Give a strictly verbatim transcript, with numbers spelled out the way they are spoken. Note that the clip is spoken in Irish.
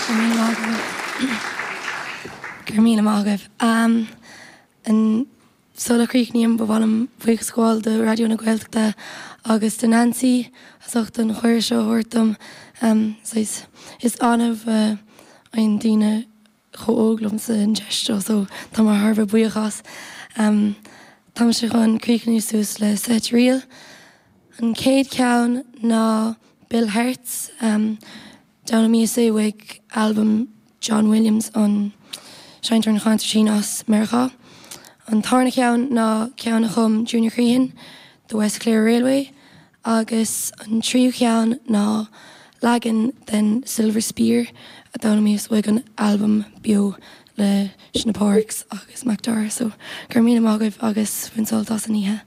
Gur mí mágah. Um, an sula gcríochnaím ba mhaith liom buíochas a ghabháil do Raidió na Gaeltachta agus do Nancy as ucht an chuireadh seo a thabhairt dom um, is annamh uh, an daoine chomh óg liomsa an deis seo so tá mé thar a bheith buíoch as. Um, Tá sé chun críochnú suas le seit ríl. An chéad cheann ná Bill Hertz um, D'fhoghlaimíos é uaidh album John Williams an seinnteoir an chonsairtín as Meiriceá. An tarna ceann ná ceann a chum Junior Crehan, the West Clare Railway, agus an tríú ceann ná leagan den Silver Spear a d'fhoghlaimíos uaidh an album beo le na Parks agus Macdara, so gur mí mágah agus bhain sult as an oíche.